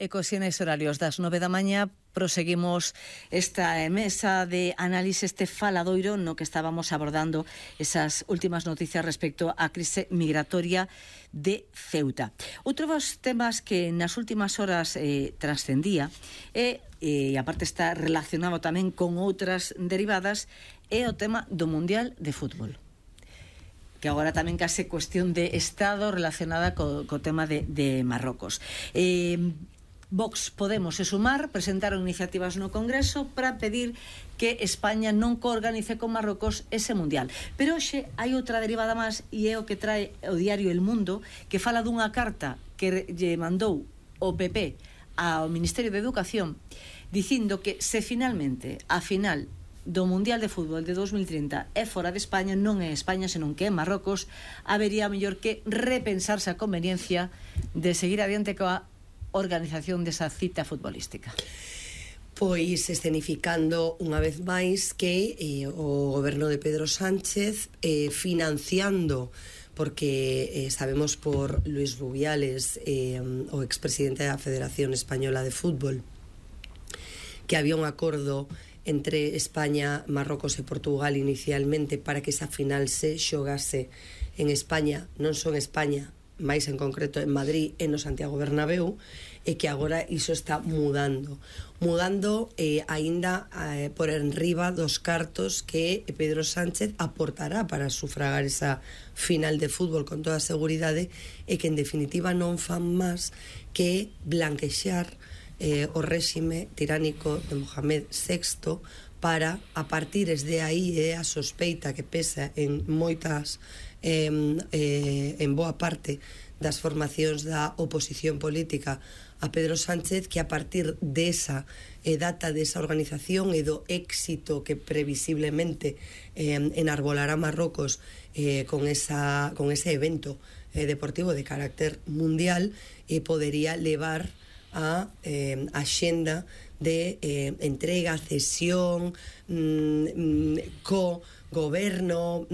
E cos xenes horarios das 9 da mañá proseguimos esta mesa de análise, este faladoiro no que estábamos abordando esas últimas noticias respecto á crise migratoria de Ceuta. Outro dos temas que nas últimas horas trascendía e aparte está relacionado tamén con outras derivadas é o tema do Mundial de Fútbol, que agora tamén case cuestión de Estado relacionada co tema de Marrocos. Vox, Podemos e Sumar presentaron iniciativas no Congreso para pedir que España non coorganice con Marrocos ese Mundial. Pero hoxe hai outra derivada máis e é o que trae o diario El Mundo, que fala dunha carta que lle mandou o PP ao Ministerio de Educación dicindo que se finalmente a final do Mundial de Fútbol de 2030 é fora de España, non é España senón que é Marrocos, habería mellor que repensarse a conveniencia de seguir adiante coa organización desa cita futbolística. Pois escenificando unha vez máis que o goberno de Pedro Sánchez financiando, porque sabemos por Luis Rubiales, o expresidente da Federación Española de Fútbol, que había un acordo entre España, Marrocos e Portugal inicialmente para que esa final se xogase en España, non só en España, máis en concreto en Madrid e no Santiago Bernabéu, e que agora iso está mudando aínda por enriba dos cartos que Pedro Sánchez aportará para sufragar esa final de fútbol con toda a seguridade, e que en definitiva non fan máis que blanquexar o réxime tiránico de Mohamed VI para, a partir de aí, a sospeita que pesa en moitas en boa parte das formacións da oposición política a Pedro Sánchez, que a partir desa data desa organización e do éxito que previsiblemente enarbolará Marrocos con ese evento deportivo de carácter mundial, podería levar a axenda de entrega, cesión, co goberno,